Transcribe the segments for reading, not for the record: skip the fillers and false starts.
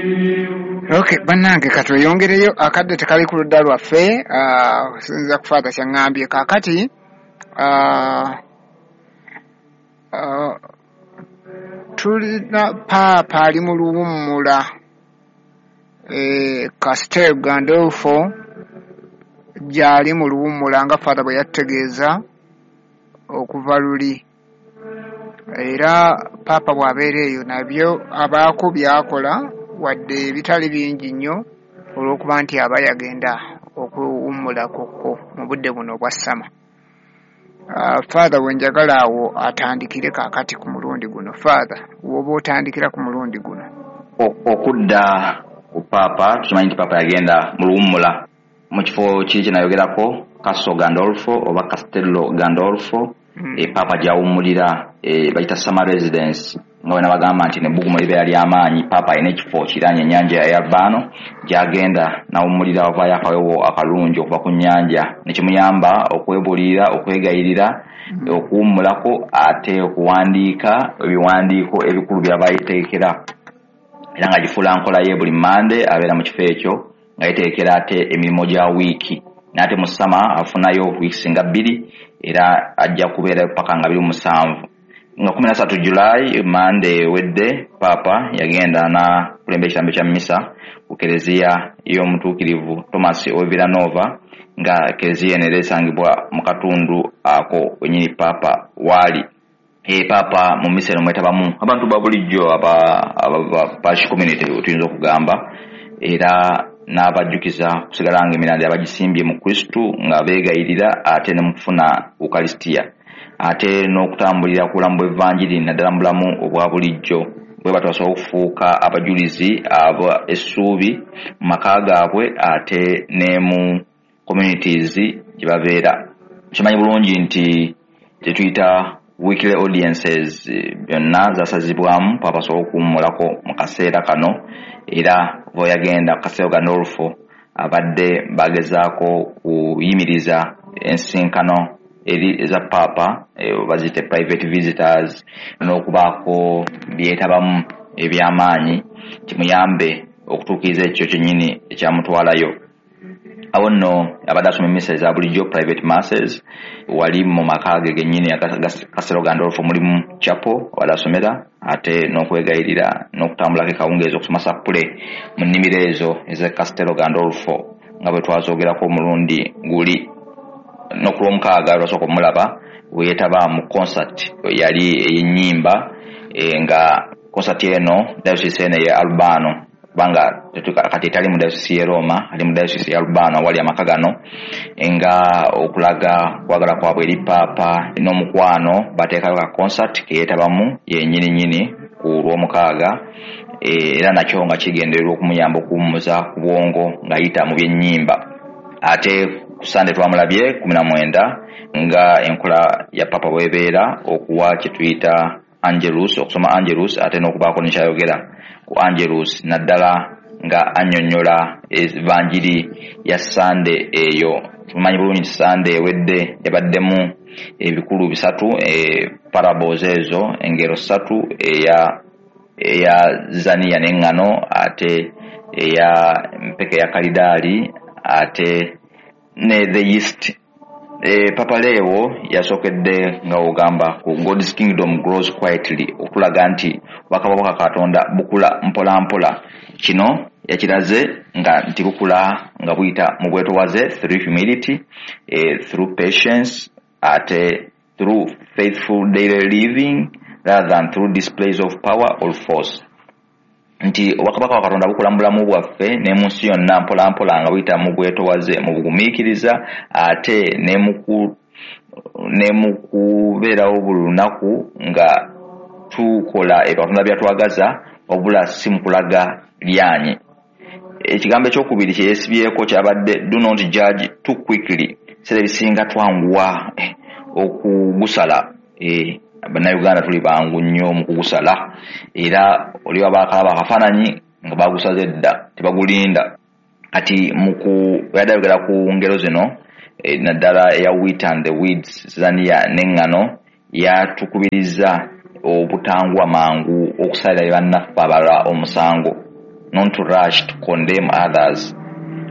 Okay, bannange katweyongereyo, akadde tekali ku ludda lwaffe, okusinziira ku Father kyaŋŋambye. Kaakati tulina Paapa ali mu luwummula Castel Gandolfo gy'ali mu luwummula nga Father bwe yatutegeeza okuva luli. Era Paapa bw'abeera eyo nabyo abaako by'akola wadde ebitali bingi nnyo olw'okuba nti aba yagenda okuwummulako mu budde buno obwa summer. Father we njagala awo atandikire kaakati ku mulundi guno. Father, w'oba otandikira ku mulundi guno. Okudda ku Paapa, tukimanyi nti Paapa yagenda mu luwummula mu kifo kiri kye nayogerako, Castle Gandolfo oba Castello Gandolfo, Paapa gy'awummulira, bayita summer residence, nga bwe nabagamba nti nebbugumu libeera ly'amaanyi. Paapa alina ekifo kiriraanye ennyanja ya Albano gy'agenda n'awummulira, avaayo akawewo akalungi okuva ku nnyanja, ne kimuyamba okwebuulirira, okwegayirira, okuwummulako, ate okuwandiika ebiwandiiko ebikulu by'aba yeetegekera. Era ng'agifuula nkola ye, buli Mmande abeera mu kifo ekyo nga yeetegekera ate emirimu gya wiiki. N'ate mu summer afunayo weeks nga 2, era ajja kubeerayo paka nga 27. Nga 13 July, Mmande ewedde, Paapa yagenda n'akulembera ekitambo kya mmisa ku kereziya y'omutuukirivu Thomas ow'e Villanova, nga kereziya eno era esangibwa mu katundu ako wennyini Paapa waali. Paapa mu mmisa eno mwetabamu abantu ba bulijjo aba parish community tuyinza okugamba, era n'abajjukiza kusigala nga emirandira bagisimbye mu Kristu nga beegayirira, ate ne mu kufuna Ukalisitiya, ate n'okutambulira ku bulamu bw'Evanjiri naddala mu bulamu obwa bulijjo, bwe batyo basobola okufuuka abajulizi aba essuubi mu maka gaabwe ate ne mu communities gye babeera. Kimanyi bulungi nti kye tuyita weekly audiences byonna zasazibwamu Paapa asobole okuwummulako mu kaseera kano. Era bwe yagenda ku Castel Gandolfo abadde bagezaako kuyimiriza ensinkano eri eza Paapa, baziyite private visitors, n'okubaako byetabamu eby'amaanyi kimuyambe okutuukiriza ekyo kyennyini ekyamutwalayo. Awo nno abadde asoma emmisa eza bulijjo, private masses, wali mu maka ge gennyini Castel Gandolfo mulimu chapel abadde asomera, ate n'okwegayirira n'okutambulako ekawungeezi okusoma sappule mu nnimiro ezo ez'e Castel Gandolfo nga bwe twazoogerako omulundi guli. N'okulwomukaaga lwasooka omulaba bwe yeetaba mu concert yali ey'ennyimba, nga concert eno diocese eno ey'e Albano, kubanga kati etali mu diocese y'e Roma, ali mu diocese ya Albano awali amaka gano, nga okulaga kwagala kwabwe eri Paapa n'omukwano bateekayo ka concert ke yeetabamu yennyini nnyini ku lwomukaaga, era nakyo nga kigendererwa okumuyamba okuwummuza ku bwongo ng'ayita mu by'ennyimba. Ate ku Sande twamulabye 19 nga enkola ya Paapa bw'ebeera okuwa kye tuyita Angelus, okusoma Angelus, ate n'okubaako ne kyayogera ku Angelus, naddala nga annyonnyola evanjiri ya Sande eyo. Tumanyi bulungi nti Sande ewedde yabaddemu ebikulu 3, parables ezo, engero 3, eya Zaniya n'eŋŋano, ate eya mpeke ya kalidaali, ate ne the yeast. Papa Leo yasookedde nga ogamba ku God's kingdom grows quietly, okulaga nti obwakabaka bwa Katonda bukula mpola mpola. Kino yakiraze nga nti bukula nga buyita mu bwetowaze, through humility, through patience, ate through faithful daily living rather than through displays of power or force. Nti obwakabaka bwa Katonda bukula mu bulamu bwaffe ne mu nsi yonna mpola mpola nga buyita mu bwetowaze, mu bugumiikiriza, ate ne mu kubeerawo buli lunaku nga tukola ebyo Katonda by'atwagaza, wabula si mu kulaga lyanyi. Ekigambo ekyokubiri kye yeesibyeko kyabadde do not judge too quickly. Ebiseera ebisinga twanguwa okugusala. Bannayuganda tuli bangu nnyo mu kugusala, era oli waba akalaba akafaananyi nga bagusaze dda, tebagulinda. Kati yadde ayogera ku ngero zino, naddala eya wheat and the weeds, zaniya n'eŋŋano, yatukubiriza obutanguwa mangu okusalira bannaffe abalala omusango. not to rush to condemn others,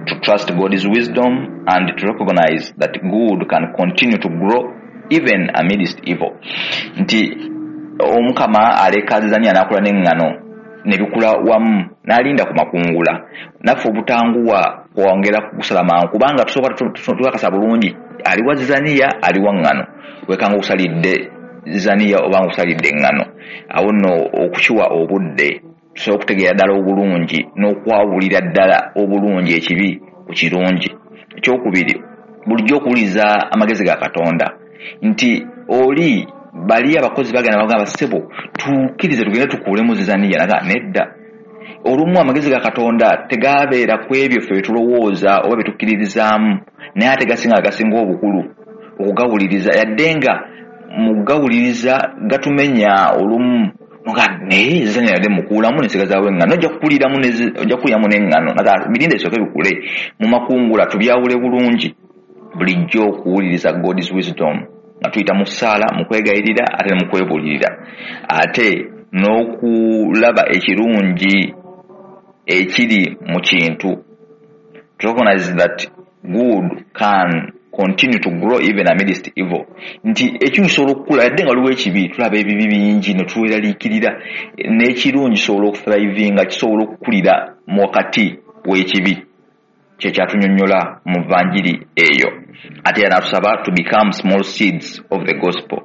to trust God's wisdom and to recognize that good can continue to grow even amidst evil. Nti Omukama aleka zizaniya n'akula n'eŋŋano ne bikula wamu, n'alinda ku makungula. Naffe obutanguwa kwongera kusala mangu, kubanga tusooka tukakasa bulungi aliwa zizaniya, aliwa ŋŋano. Wekanga okusalidde zizaniya oba nga okusalidde eŋŋano. Awo nno okukiwa obudde tusobola okutegeera ddala obulungi n'okwawulira ddala obulungi ekibi ku kirungi. Ekyokubiri, bulijjo okuwuliriza amagezi ga Katonda, nti oli bali abakozi bagenda bagamba, ssebo tukkirize tugende tukuulemu zizaniya, naga nedda. Olumu amagezi ga Katonda tegabeera ku ebyo ffe byetulowooza oba byetukkiririzaamu, naye ate gasinga gasinga obukulu okugawuliriza, yadde nga mu kugawuliriza gatumenya olumu nga naye zizaniya yadde mukuulamu nesigazaawo eŋŋano, ojja kukuliramu n'eŋŋano, naga birinde bisooke bikule mu makungula tubyawule bulungi. Bulijjo okuwuliriza God's wisdom nga tuyita mu ssaala, mu kwegayirira, ate ne mu kwebuulirira, ate n'okulaba ekirungi ekiri mu kintu. To recognize that good can continue to grow even amidst evil. Nti ekibi kisobola okukula yadde nga waliwo ekibi, tulaba ebibi bingi ne tuweraliikirira, n'ekirungi kisobola okuthrivinga, kisobola okukulira mu wakati w'ekibi. Kye kyatunyonnyola mu vanjiri eyo. Ate era n'atusaba to become small seeds of the gospel.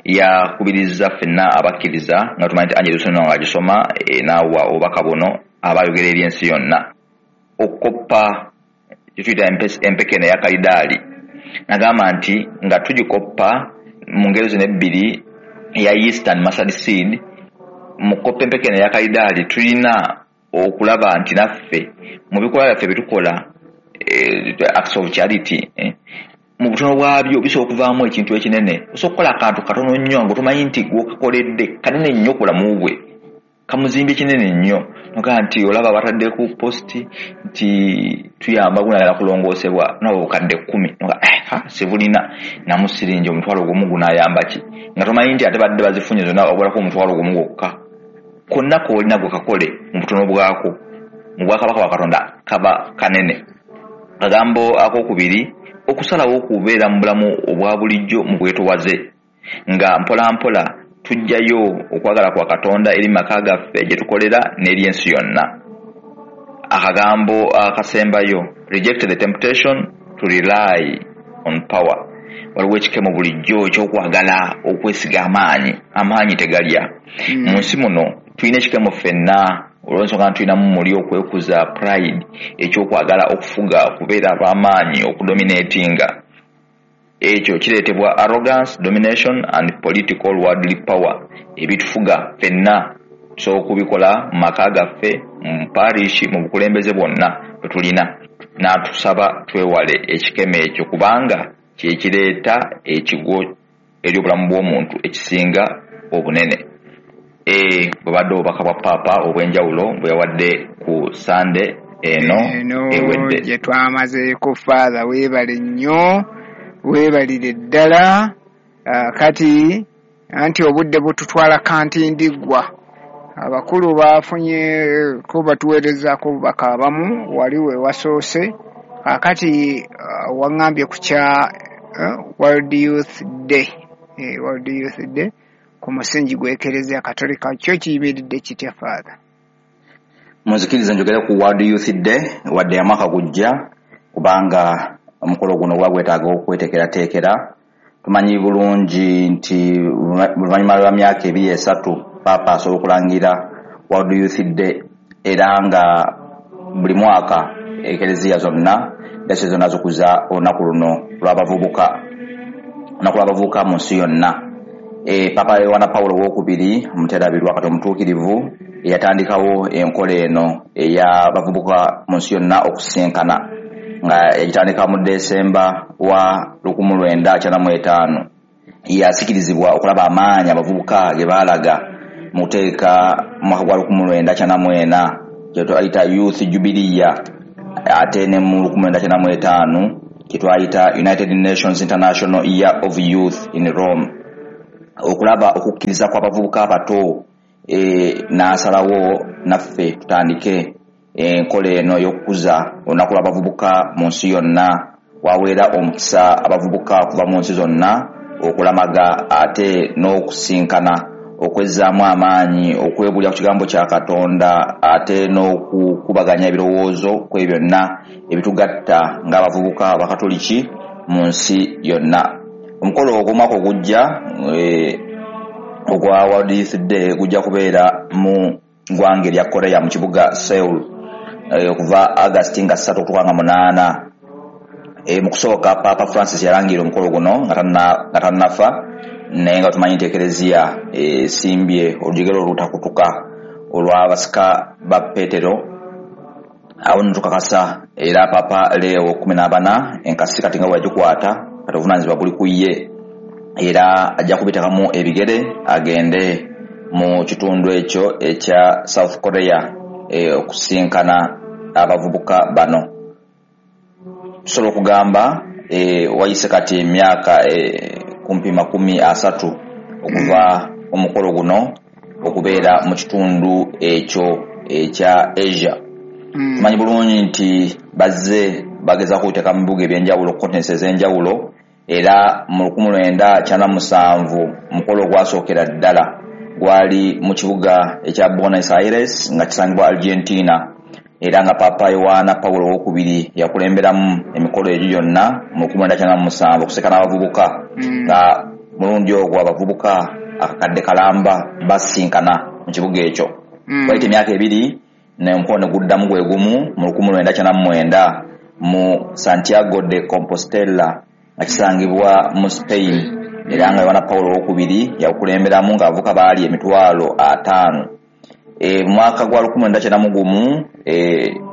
Yakubiriza ffenna abakkiriza, nga tumanyi nti Angelus eno ng'agisoma, n'awa obubaka buno aba ayogera eri ensi yonna. Okukoppa kye tuyita empeke eno eya kalidaali, n'agamba nti nga tugikoppa mu ngeri zino ebbiri, eya yeast and mustard seed, mu kukoppa empeke eno eya kalidaali tulina okulaba nti naffe mu bikolwa byaffe bye tukola, acts of charity, mu butono bwabyo bisobola okuvaamu ekintu ekinene. Osobola okukola akantu katono nnyo nga tomanyi nti gw'okakoledde kanene nnyo ku bulamu bwe, kamuzimbye kinene nnyo. Nogaa nti olaba batadde ku posti nti tuyamba gunagala kulongoosebwa nabo bukadde 10, noga sibulina namu siringi omutwalo gumu gunaayamba ki, nga tomanyi nti ate badde bazifunye zonna obulako omutwalo gumu gwokka. Konna k'olina gwe kakole mu butono bwako, mu bwakabaka bwa Katonda kaba kanene. Akagambo akokubiri, okusalawo okubeera mu bulamu obwa bulijjo mu bwetowaze, nga mpola mpola tujjayo okwagala kwa Katonda eri maka gaffe gye tukolera n'eri ensi yonna. Akagambo akasembayo, reject the temptation to rely on power. Waliwo ekikemo bulijjo ekyokwagala okwesiga amaanyi, amaanyi tegalya. Mu nsi muno tulina ekikemo ffenna, olw'ensonga nti tulinamu muli okwekuza, pride, ekyokwagala okufuga, okubeera ab'amaanyi, okudominatinga. Ekyo kireetebwa arrogance, domination and political worldly power. Ebitufuga ffenna tusobola okubikola mu maka gaffe, mu parish, mu bukulembeze bwonna bwe tulina. N'atusaba twewale ekikemo ekyo, kubanga kye kireeta ekigwo eri obulamu bw'omuntu ekisinga obunene. Bwe badde obubaka bwa Paapa obw'enjawulo bwe yawadde ku Sande eno ewedde gye twamazeeko. Father, weebale nnyo, weebalire ddala. Kati anti obudde bututwala kantindiggwa, abakulu bafunye ko batuweerezaako obubaka abamu wali we wasoose. Kaakati waŋŋambye ku kya World Youth Day, World Youth Day ku musingi gw'Ekereziya Katolika kyo kiyimiridde kitya, Father? Munzikirize njogere ku World Youth Day, wadde ya mwaka gujja, kubanga omukolo guno guba gwetaaga okweteekerateekera. Tumanyi bulungi nti oluvannyuma lwa myaka 2-3 Paapa asobola okulangira World Youth Day, era nga buli mwaka ekereziya zonna, dayosisi zonna zikuza olunaku luno lw'abavubuka, olunaku lw'abavubuka mu nsi yonna. Papa Yowana Pawulo owokubiri omuterabirwa kati omutuukirivu eyatandikawo enkola eno ey'abavubuka mu nsi yonna okusisinkana, nga yagitandika mu Desemba wa 1995. Yasikirizibwa okulaba amaanyi abavubuka ge baalaga mu kuteeka mu mwaka gwa 1994 kye twayita Youth Jubilee, ate ne mu 1995 kye twayita United Nations International Year of Youth in Rome. Okulaba okukkiriza kw'abavubuka abato, n'asalawo naffe tutandike Enkola eno ey'okukuza olunaku lw'abavubuka mu nsi yonna waweera omukisa abavubuka okuva mu nsi zonna okulamaga ate n'okusinkana, okwezzaamu amaanyi, okwebulya ku kigambo kya Katonda ate n'okukubaganya ebirowoozo ku ebyo byonna ebitugatta ng'abavubuka abakatoliki mu nsi yonna. Omukolo ogw'omwaka ogujja ogwa World Youth Day gujja kubeera mu ggwanga erya Korea mu kibuga Seoul okuva August nga 3 okutuuka nga 8. Mu kusooka Papa Francis yalangirira omukolo guno nga tannafa, naye nga tumanyi nti Ekereziya esimbye olujegere olutakutuka olw'abasika ba Petero. Awo nno tukakasa era Papa Leo 14 enkasi kati nga bwe yagikwata, kati obuvunaanyizibwa buli ku ye, era ajja kubiteekamu ebigere agende mu kitundu ekyo ekya South Korea okusinkana abavubuka bano. Tusobola okugamba wayise kati emyaka kumpi 30 okuva omukolo guno okubeera mu kitundu ekyo ekya Asia. Tumanyi bulungi nti bazze bagezaako okuteeka mu bibuga ebyenjawulo, continents ez'enjawulo, era mu 1997 omukolo ogwasookera ddala gwali mu kibuga ekya Buenos Aires nga kisangibwa Argentina, era nga Papa Yowaana Pawulo owokubiri yakulemberamu emikolo egyo gyonna mu 1997 okusekana abavubuka, nga mulundi ogwo abavubuka akakadde kalamba basinkana mu kibuga ekyo. Wayita emyaka 2 omukolo ne guddamu gwe gumu mu 1999 mu Santiago de Compostela nga kisangibwa mu Spain, era nga Yowaana Pawulo owokubiri yakulemberamu ng'abavubuka baali 50,000. Mu mwaka gwa 1991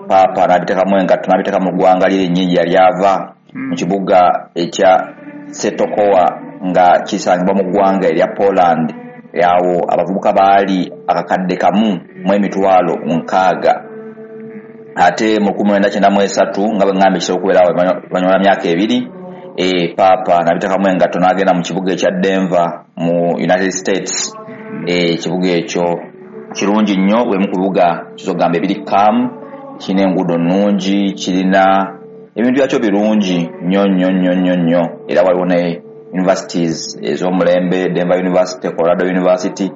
Papa n'abiteekamu engatto n'abiteeka mu ggwanga lye lyennyini gye yali ava mu kibuga ekya Setokowa nga kisangibwa mu ggwanga erya Poland. Awo abavubuka baali 1,060,000. Ate mu 1993 nga bwe ŋŋambye kisobola okubeerawo oluvannyuma lwa myaka 2, Papa n'abiteekamu engatto n'agenda mu kibuga ekya Denver mu United States. Ekibuga ekyo kirungi nnyo, bwemu ku bibuga kizogamba ebiri calm, kirina enguudo nnungi, kirina ebintu byakyo birungi nnyo nnyo nnyo nnyo nnyo, era waliwo ne universities ez'omulembe, Denver University, Colorado University.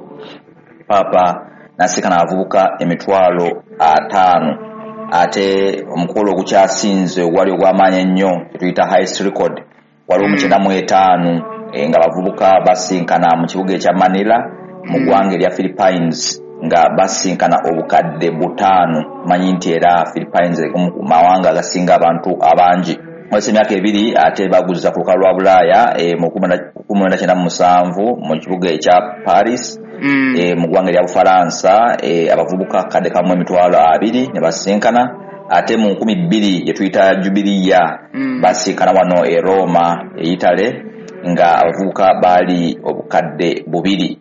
Papa n'asinkana abavubuka 50,000. Ate omukolo ogukyasinze ogwali ogw'amaanyi ennyo kyetuyita highest record waliwo mu 95 nga abavubuka basinkana mu kibuga ekya Manila mu ggwanga erya Philippines nga basinkana 5,000. Manyi nti era Philippines mu mawanga agasinga abantu abangi. Wayise emyaka 2 ate baguza ku lukalu lwa Bulaaya mu 1997 mu kibuga ekya Paris mu ggwanga erya Bufalansa, abavubuka 1,200,000 ne basinkana. Ate mu 2000 gye tuyita Jubilee basinkana wano e Roma e Italy nga abavubuka baali 2,000.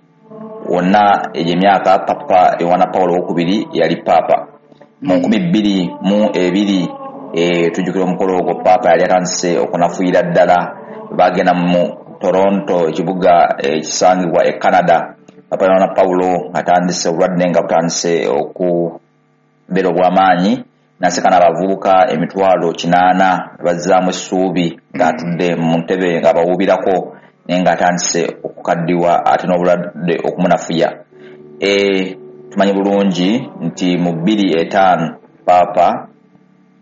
Wonna egyo emyaka Papa Yowaana Pawulo owokubiri yali Papa. Mu 2002 tujjukira omukolo ogwo Papa yali atandise okunafuyira ddala, bagenda mu Toronto ekibuga ekisangibwa e Canada. Papa Yowaana Pawulo atandise obulwadde nga butandise okubeera obw'amaanyi, n'asinkana abavubuka 800,000 bazzaamu essuubi ng'atudde mu ntebe ng'abawuubirako, naye ng'atandise okukaddiwa ate n'obulwadde okumunafuya. Tumanyi bulungi nti mu 2005 Papa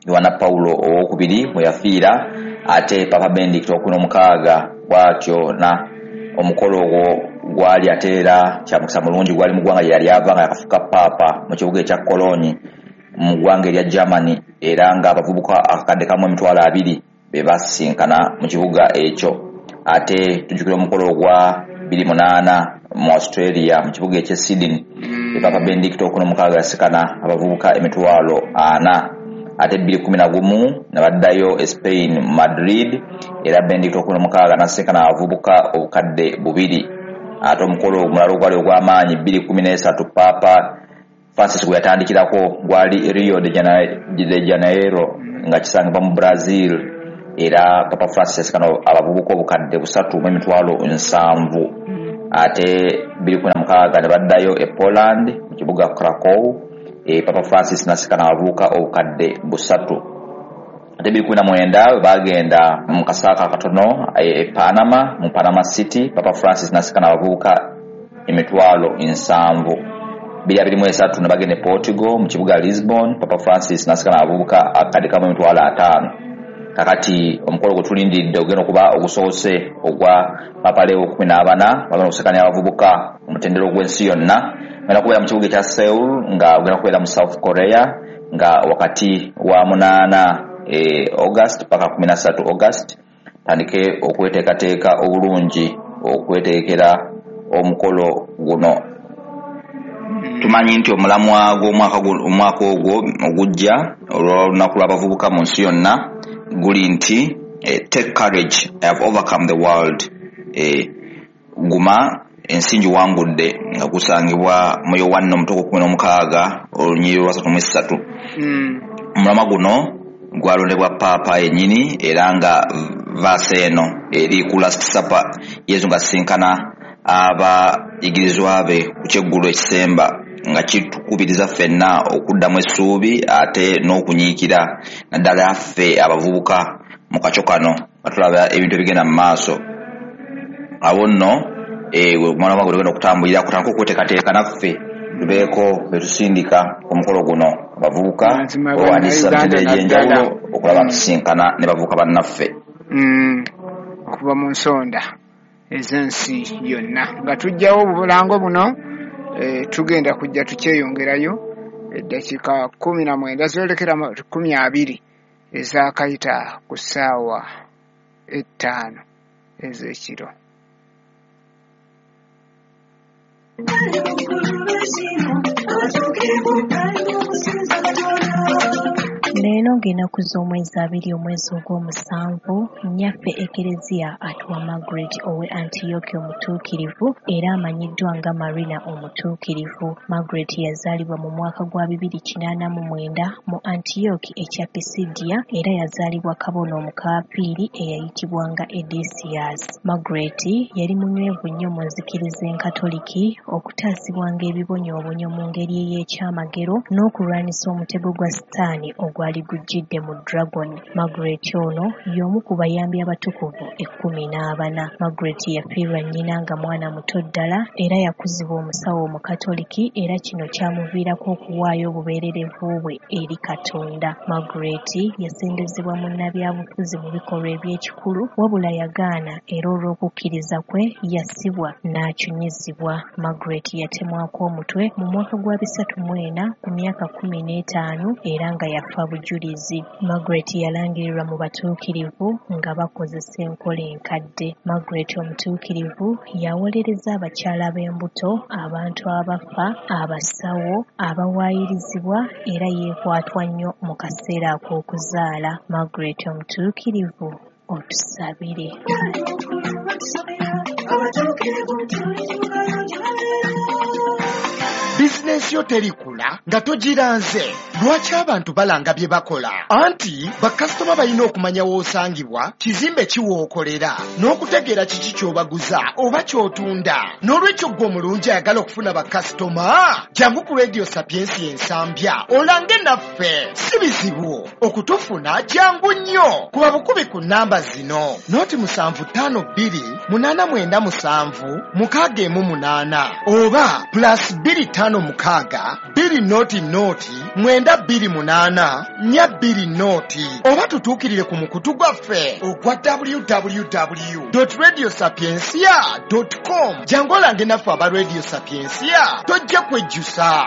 Yowaana Pawulo owokubiri bwe yafiira, ate Papa Benedict ow'okunamukaga bw'atyo na omukolo ogwo gwali ate era kya mukisa mulungi gwali mu ggwanga gye yali ava nga yakafuuka Paapa mu kibuga ekya Cologne mu ggwanga erya Germany, era ng'abavubuka 1,200,000 be basinkana mu kibuga ekyo. Ate tujjukira omukolo ogwa 2008 mu Australia mu kibuga eky'e Sydney, Papa Benedict ow'okunamukaga yasikana abavubuka 400,000. Ate 2011 ne baddayo e Spain mu Madrid, era Benedict ow'okunamukaga n'asinkana abavubuka 2,000. Ate omukolo omulala ogwali ogw'amaanyi 2013 Papa Francis gwe yatandikirako gwali Rio de Janeiro nga kisangibwa mu Brazil, era Papa Francis yasikana abavubuka 370,000. Ate 2016 ne baddayo e Poland mu kibuga Krakow, Papa Francis nasikana abavubuka 300,000. Ate 2019 bagenda mu kasaaka akatono e Panama, mu Panama City, Papa Francis nasikana abavubuka 70,000. 2023 ne bagenda e Portugal mu kibuga Lisbon, Papa Francis nasikana abavubuka 1,500,000. Kakati omukolo gwe tulindiridde ogenda okuba ogusoose ogwa Papa Leo 14, bagenda okusikana abavubuka omutendera ogw'ensi yonna. Ogenda kubeera mu kibuga ekya Seoul, nga ogenda kubeera mu South Korea, nga wakati wa 8 August paka 13 August. Tandike okweteekateeka obulungi okweteekera omukolo guno. Tumanyi nti omulamwa gw'omwaka ogwo ogujja olw'olunaku lw'abavubuka mu nsi yonna guli nti take courage, I have overcome the world. Guma ensi ngiwangudde, nga gusangibwa mu Yowanna omutukuvu 16 olunyiriri lwa 33. Omulamwa guno gwalondebwa Paapa yennyini, era nga vaasa eno eri ku Last Supper, Yesu ng'asisinkana abayigirizwa be ku kyeggulo ekisemba, nga kitukubiriza ffenna okuddamu essuubi ate n'okunyiikira, naddala ffe abavubuka mu kakyo kano nga tulaba ebintu ebigenda mu maaso. Awo nno omwana gwe tugenda okutambulira kutandika okweteekateeka naffe tubeeko be tusindika omukolo guno abavubuka owandiisa mitendera egy'enjawulo okulaba tusinkana ne bavubuka bannaffe okuva mu nsonda ez'ensi yonna. Nga tujjawo obulango buno, tugenda kujja tukyeyongerayo eddakiika 19 zoolekera 20 ezaakayita ku ssaawa 5 ez'ekiro. Leero ng'ennaku z'omwezi 2 omwezi ogw'omusanvu, nnyaffe Ekereziya atuwa Margaret ow'e Antiyooki omutuukirivu era amanyiddwa nga Marina omutuukirivu. Margaret yazaalibwa mu mwaka gwa 289 mu Antiyooki ekya Pisidiya era yazaalibwa kabona omukaafiiri eyayitibwanga Edesius. Margaret yali munywevu nnyo mu nzikiriza enkatoliki, okutaasibwanga ebibonyoobonyo mu ngeri ey'ekyamagero n'okulwanyisa omutego gwa Sitaani ogwali gujjidde mu Dragon. Margaret ono y'omu ku bayambi abatukuvu 14. Margaret yafiirwa nnyina nga mwana muto ddala era yakuzibwa omusawo omukatoliki era kino kyamuviirako okuwaayo obubeererevu bwe eri Katonda. Margaret yasembezebwa munnabyabufuzi mu bikolwa eby'ekikulu wabula yagaana era olw'okukkiriza kwe yasibwa n'acunyizibwa. Margaret yatemwako omutwe mu mwaka gwa 304 ku myaka 15 era nga yafa bujulizi. Margaret yalangirirwa mu batuukirivu nga bakozesa enkola enkadde. Margaret omutuukirivu yawolereza abakyala b'embuto, abantu abafa, abasawo, abawaayirizibwa era yeekwatwa nnyo mu kaseera ak'okuzaala. Margaret omutuukirivu, otusabire. Bizinensi yo terikula nga togiranze. Lwaki abantu balanga bye bakola? Anti bakasitoma balina okumanya w'osangibwa, kizimbe ki w'okolera, n'okutegeera kiki ky'obaguza oba ky'otunda. N'olwekyo ggwe omulungi ayagala okufuna bakasitoma, jangu ku Radio Sapiensia Ensambya olange naffe. Si bizibu okutufuna, jangu nnyo. Kuba bukubi ku nnamba zino: 0752 897 618 oba +256 200 928 420, oba tutuukirire ku mukutu gwaffe ogwa www.radiosapiensia.com. Jangu olange naffe aba Radio Sapiensia, tojja kwejjusa.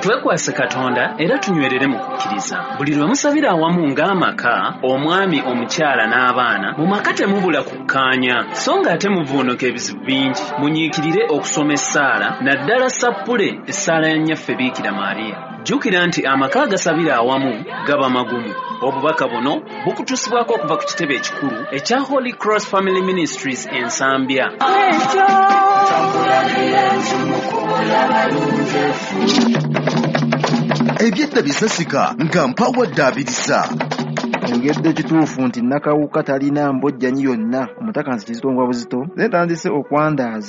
Twekwase Katonda era tunywerere mu kukkiriza. Buli lwe musabira awamu ng'amaka, omwami, omukyala n'abaana, mu maka temubula kukkaanya, so ng'ate muvuunuka ebizibu bingi. Munyiikirire okusoma essaala, naddala sappule essaala ya Nnyaffe Biikira Maria. Jjukira nti amaka agasabira awamu gaba magumu. Obubaka buno bukutuusibwako okuva ku kitebe ekikulu ekya Holy Cross Family Ministries Ensambya. Ebyedda bisasika nga mpawadde abirisa. Engedde ekituufu nti Nakawuka talina mbojjanyi yonna, omutaka nsi kizito ngwa buzito, naye ntandise okwandaaza.